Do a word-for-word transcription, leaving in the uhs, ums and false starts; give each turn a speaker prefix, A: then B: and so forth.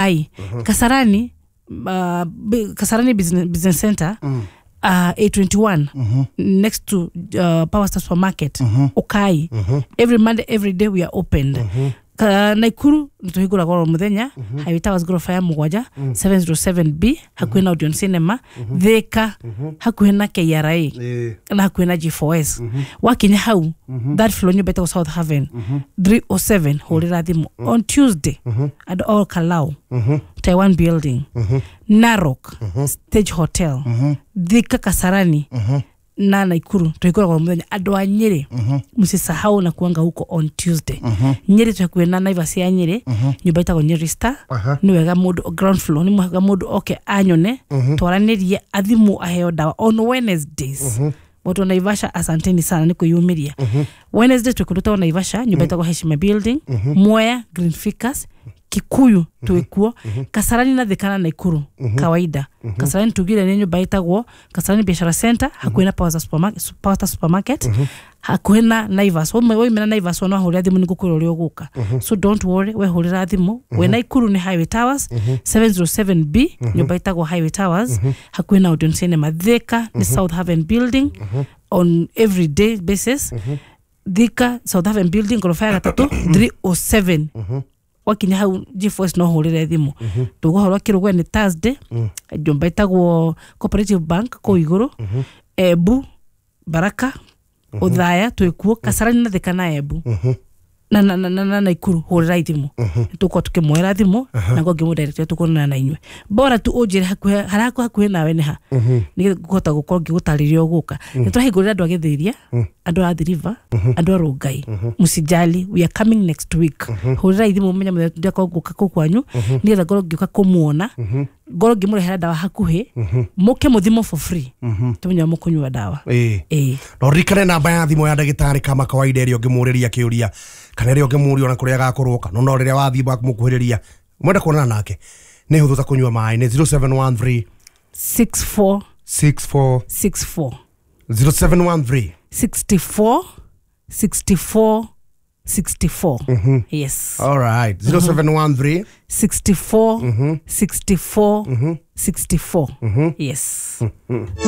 A: Ai Kasarani, uh, bi- Kasarani Business, Business Center, uh, A twenty-one, next to uh, Power Star Supermarket. Ukai every Monday, every day we are opened. Ka, Naikuru nituhingũragwo oro mũthenya, Highway Towers, ngoroba ya mũgwanja, seven oh seven B, hakuhĩ na Odeon Cinema. Thika, hakuhĩ na K R A
B: Ĩĩ.
A: Na hakuhĩ na G four S. Wakinya hau third floor, nyũmba ĩtagwo South Haven, three oh seven, hũrĩra thimũ. On Tuesday, andũ all Kalau, Taiwan Building, Narok, Stage Hotel. Thika, Kasarani na Naikuru tuhingũragwo mũthenya. Andũ a Nyĩrĩ, msisahau na kuanga huko on Tuesday. Nyĩrĩ twĩ hakuhĩ na Naivas ya Nyĩrĩ, nyũmba ĩtagwo Nyeri Star.
B: Aha.
A: Nĩ wega mũndũ, ground floor, nĩ wega mũndũ oke anyone, twaranĩrie, athimwo, aheo ndawa. On Wednesdays, watu wa Naivasha, asanteni sana nĩ kwĩyumĩria. Wednesday twĩ kũndũ tagwo Naivasha, nyũmba ĩtagwo Heshima Building. Mwea, Green Ficus. Kikuyu twĩkuo Kasarani na Thika na Naikuru kawaida. Kasarani tugire nĩ nyũmba ĩtagwo Kasarani Biashara Center, hakuhĩ na Power Supermarket, Power Star Supermarket, hakuhĩ na Naivas. Wauma- waumĩra Naivas, ona wahũrĩra thimũ nĩ ngũkwĩra ũrĩa ũgũka, so don't worry, wehũrĩra thimũ. We Naikuru nĩ Highway Towers, seven oh seven B, nyũmba ĩtagwo Highway Towers, hakuhĩ na Odeon Cinema. Thika nĩ South Haven Building on everyday basis. Thika, South Haven Building, ngoroba ya gatatũ, three oh seven. Wakinya hau G four S no hũrĩre thimũ. Tũgũhoro kĩrũgwe nĩ Thursday, nyũmba ĩtagwo Cooperative Bank kũu igũrũ. Embu, Baraka, Ũthaya twĩkuo. Kasarani na Thika na Embu na na na na na Naikuru, hũrĩra thimũ, tũkorwo tũkĩmwĩra thimũ na ngo ngĩmũ tũkuonana na inyuĩ. Bora tu ũnjĩre hakuhĩ harĩa hakuhĩ nawe nĩ ha, nĩgetha ngũhota gũkorwo ngĩgũtarĩria ũgũka. Nĩ tũrahingũrĩra andũ a Gĩthĩria, andũ a Athi River, andũ a Rongai, msijali, we are coming next week. Hũrĩra thimũ mũmenye mũthenya ndĩakorwo ngũka kũu kwanyu, nĩgetha ngorwo ngĩũka kũmuona, ngorwo ngĩmũrehera ndawa hakuhĩ, mũke mũthimwo for free, tũmenye mũkũnyua ndawa.
B: Ĩĩ.
A: Ĩĩ.
B: Na ũririkane namba ya thimũ ya ndagĩtarĩ kama kawaida, ĩrĩa ũngĩmũrĩria kĩũria kana ĩrĩa ũngĩmũria ona kũrĩa agakorwo, kana no rĩrĩa wathiĩ mũkuhĩrĩria mwenda kuonana nake, nĩ hũthũ ta kũnyua maĩ, nĩ zero seven one three
A: six four
B: six four
A: six four.
B: zero seven one three
A: sixty-four sixty-four sixty-four, yes.
B: All right, zero seven one three
A: sixty-four sixty-four sixty-four, yes.